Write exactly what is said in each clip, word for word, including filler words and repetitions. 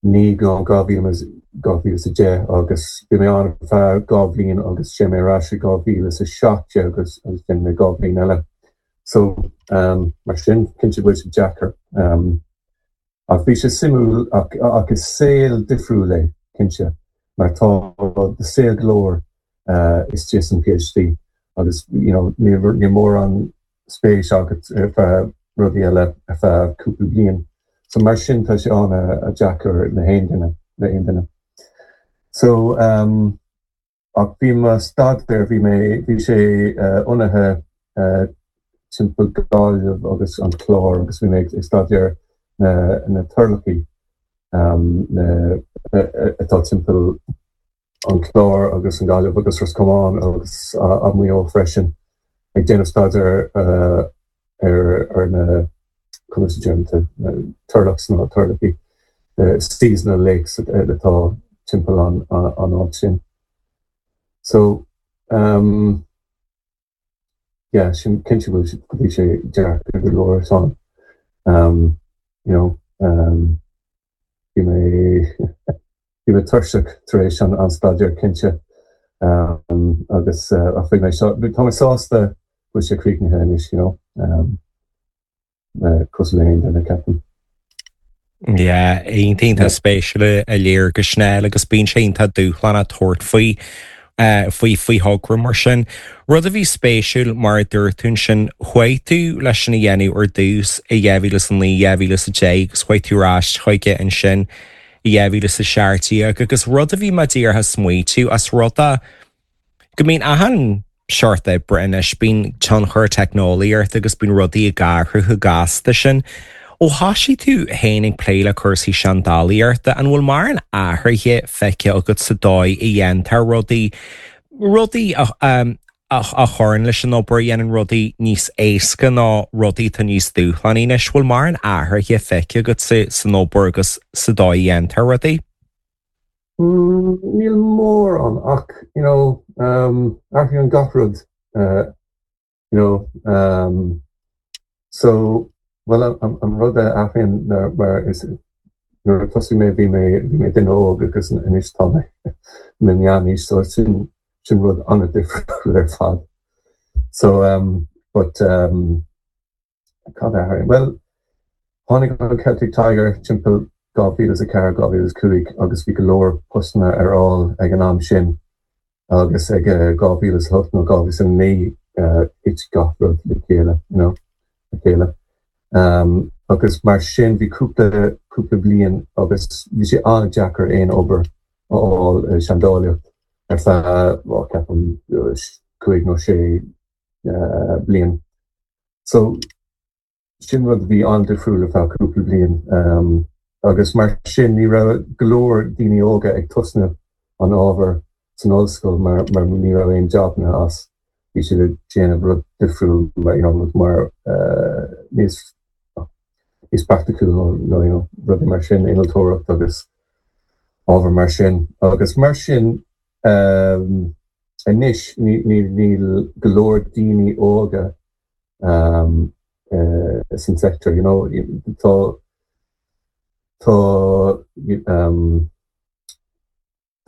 naoi go dhá mhíle dhá mhíle is a deich agus bhí mé ann ar feadh dhá bhliain agus sé mé ar ais i dhá mhíle is a seacht déag agus agus déanfaidh mé dhá bhliain eile. So um, mar sin cinnte bhfuil sé deacair. Um, ach bhí sé suimiúil ach, ach is saol difriúil é cinnte mar tá saol go leor uh, istigh san PhD agus you know, ní, ní mórán spéis agat ar feadh rudaí eile ar feadh cúpla bliain. So mar sin tá sé an-deacair le haon duine le haon duine. So um, ach bhí mo staidéar bhí mé bhí sé uh, ionaithe uh, timpeall Gaillimh agus an Clár agus bhí mé ag staidéar na, na turlachaí um, na, atá timpeall an Clár agus an Gaillimh agus Ros Comáin agus uh, Maigh Eo freisin ag déanamh staidéar uh, ar ar na conas déanta turlach ná turlachaí seasonal lakes atá timpeall an an áit sin. So um, yeah, sin cinnte bhfuil bhí sé deacair go leor san. Um, you know, um, bhí mé bhí mé tuirseach tar éis an an staidéar cinnte um, agus uh, ach bhí mé tá mé sásta bhfuil sé críochnaithe anois you know, um, uh, cosúil le haon duine ceapaim. Yeah, iontach spéisiúil a léir go snel agus bíonn sé iontach dúshlánach tabhairt faoi uh, faoi faoi thogra mar sin. Rud a bhí spéisiúil mar a dúirt tú sin chuaigh tú leis sin a dhéanamh ar dtús i dhá mhíle is a naoi dhá mhíle is a deich agus chuaigh tú ar ais chuige ansin i dhá mhíle is a seacht déag agus rud a bhí mé díreach ag smaoitiú as rud a go mbíonn achan seort oibre anois bíonn tionchar teicneolaíocht agus bíonn rudaí ag athrú chomh gasta sin. Ó thosaigh tú féin ag plé le cúrsaí seandálaíochta an bhfuil mórán athruithe feicthe agat sa dóigh a dhéantar rudaí rudaí a, um, a, a chuireann leis an obair dhéanann rudaí níos éasca ná rudaí tá níos dúshlánaí anois bhfuil mórán athruithe feicthe agat sa, san obair agus sa dóigh a dhéantar rudaí? Mm, níl mórán ach you know, um, athraíonn gach rud uh, you know, um, so well an, an rud a athraíonn mar is nuair a thosaigh mé bhí mé bhí mé duine óg agus anois tá mé mé meánaois so sin sin rud an-difriúil ar fad. So um, but um, cad a well tháinig an Celtic Tiger timpeall dhá mhíle is a ceathair dhá mhíle is cúig agus bhí go leor postanna ar fáil ag an am sin agus ag dhá mhíle is hocht nó dhá mhíle is a naoi thit gach rud le chéile you know, le chéile. Um, agus mar sin bhí cúpla cúpla bliain agus bhí sé an-deacair aon obair a fháil seandálaíocht ar feadh ceapaim cúig nó sé uh, bliain. So sin rud bhí an-difriúil ar feadh cúpla bliain. Um, agus mar sin ní raibh go leor daoine óga ag tosnú an ábhar san ollscoil mar mar ní raibh aon jobanna as bhí siad ag déanamh rud difriúil mar you know, rud mar uh, níos níos praiticiúil nó you know, rudaí mar sin innealtóireacht agus ábhar mar sin agus mar sin um, anois níl go leor daoine óga um, uh, san sector you know, tá tá um,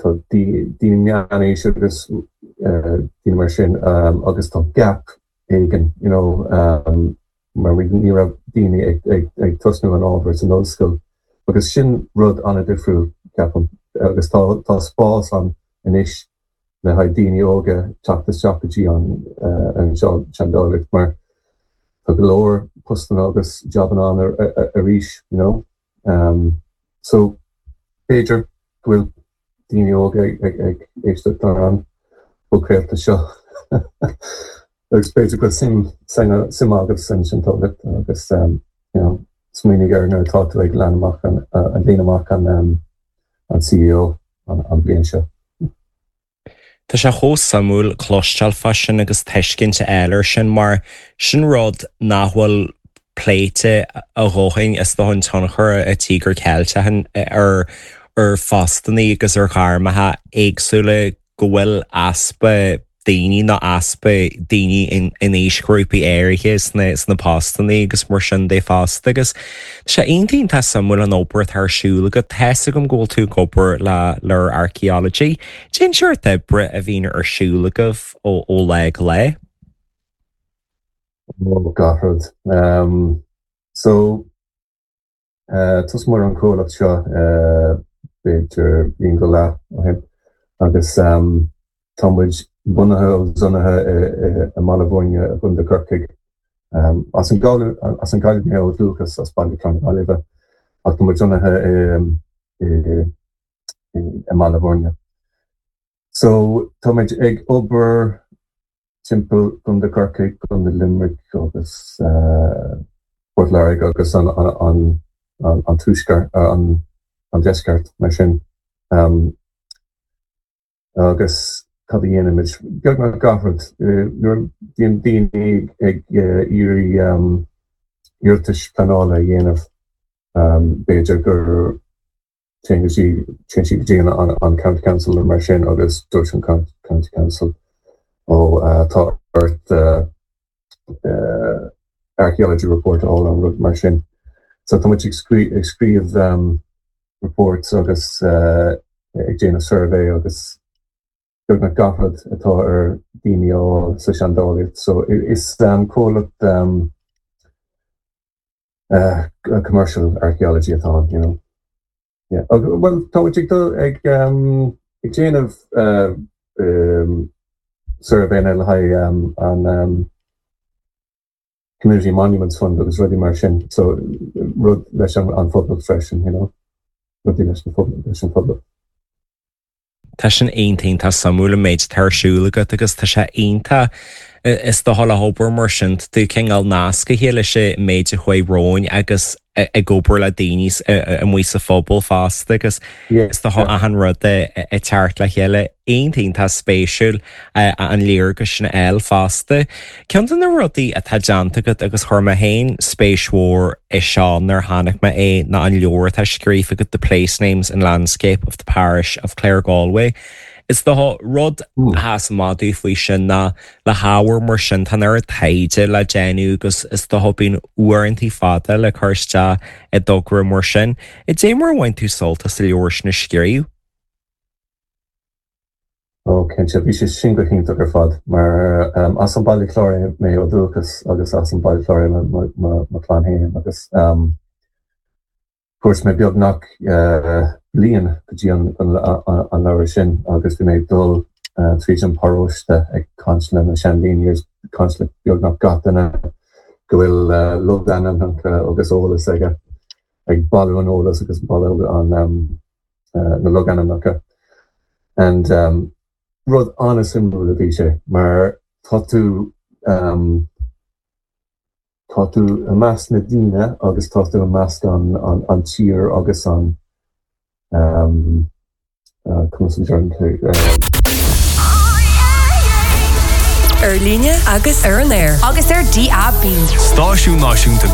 tá daoine meánaois agus uh, daoine mar sin um, agus tá gap éigin you know, um, mar ní raibh daoine ag, ag, ag tosnú an ábhar san ollscoil agus sin rud an-difriúil ceapaim agus tá tá spás ann anois le haghaidh daoine óga teacht isteach go dtí an uh, an seandálaíocht mar tá go leor postanna agus jobanna ann arís you know um, so b'fhéidir go bhfuil daoine óga ag ag éisteacht ar an bpodchraoladh seo agus b'fhéidir go sim suim agat san seandálaíocht agus um, you know, smaoinigh air nuair atá tú ag lán amach an an líon amach an um, an CEO an, an bliain seo. Tá sé chomh suimiúil cloisteáil fá sin agus tuiscint eile sin mar sin rud nach bhfuil pléite a dhóthain is do an tionchar a Tíogar Ceilteach ar ar phostanna agus ar ghairmeacha éagsúla go bhfuil easpa daoine nó easpa daoine in in aoisghrúpaí áirithe sna sna postanna agus mar sin de fosta agus sé iontach suimiúil an obair atá ar siúl agat tá a fhios agam go bhfuil tú ag obair le le archaeology. Cén sórt oibre a bhíonn ar siúl agaibh ó ó lá go lá. Ó gach rud. Um, so uh, thosaigh an comhlacht seo uh, b'fhéidir bliain go leith ó shin agus um, tá muid bunaithe agus lonnaithe i mBaile Bhuirne i gContae Chorcaí. Um, as an as an Ghaillimh mé ó dhúchas as Baile na Gaillimhe ach tá muid lonnaithe i i mBaile Bhuirne. So tá muid ag obair timpeall Contae Chorcaí Contae Limerick agus uh, Port Láirge agus an, an, an, an, an tuaisceart an, an deisceart mar sin. Um, agus cad a dhéanaimid beagnach gach rud nuair bhíonn daoine ag iarraidh um, iarratais pleanála a dhéanamh um, b'fhéidir gur téann sí go dtí an, an County Council mar sin agus dúirt an County Council ó uh, tá ort uh, uh, archaeology report all an rud mar sin. So tá ag scríobh um, reports agus uh, ag déanamh survey agus beagnach gach rud atá ar daoine á sa seandálaíocht, so is um, comhlacht um, uh, commercial archaeology atá you know. Yeah. well tá ag ag um, ag déanamh uh, um, survey le haghaidh um, an um, Community Monuments Fund agus rudaí mar sin so rud leis an, an phobal freisin you know rudaí leis an phobal leis an phobal. Tá sin iontach suimiúil an méid atá ar siúl agat agus tá sé iontach is dócha le hobair mar sin tú cineál nasctha leis an méid a chuaigh romhainn agus ag obair le daoine amuigh sa phobal fosta agus is dócha achan rud ag teacht le chéile iontach spéisiúil an léargas sin eile fosta. Ceann de na rudaí atá déanta agat agus chuir mé féin spéis mhór i seo nuair a chonaic mé é ná an leabhar atá scríofa agat the place names and landscape of the parish of Claregalway. Is dócha rud a madu faoi sin ná le hábhar mar sin tá an taighde le déanamh agus is dócha bíonn uaireanta fada le cur isteach i dtogra mar sin. Cad é mar bhain tú sult as an leabhar sin a scríobh? Ó cinnte bhí sé sin go hiontach ar fad mar um, as an Baile Chláir mé ó dúchas agus as an Baile Chláir mo chlann féin agus um, Fuair mé beagnach uh, bliain go dtí an, an, an, an leabhar sin agus bhí mé dul uh, tríd an paróiste ag caint le na seandaoine caint le beagnach gach duine go bhfuil uh, logainmneacha agus eolas aige ag bailiú an eolas agus bailiú an um, uh, na logainmneacha. And um, rud an-suimiúil a bhí sé mar tá tú um, tá tú i measc na daoine agus tá tú i measc an, an, an tír agus an um, uh, uh, Ar líne agus ar an aer. Agus ar DAB. Stáisiún náisiúnta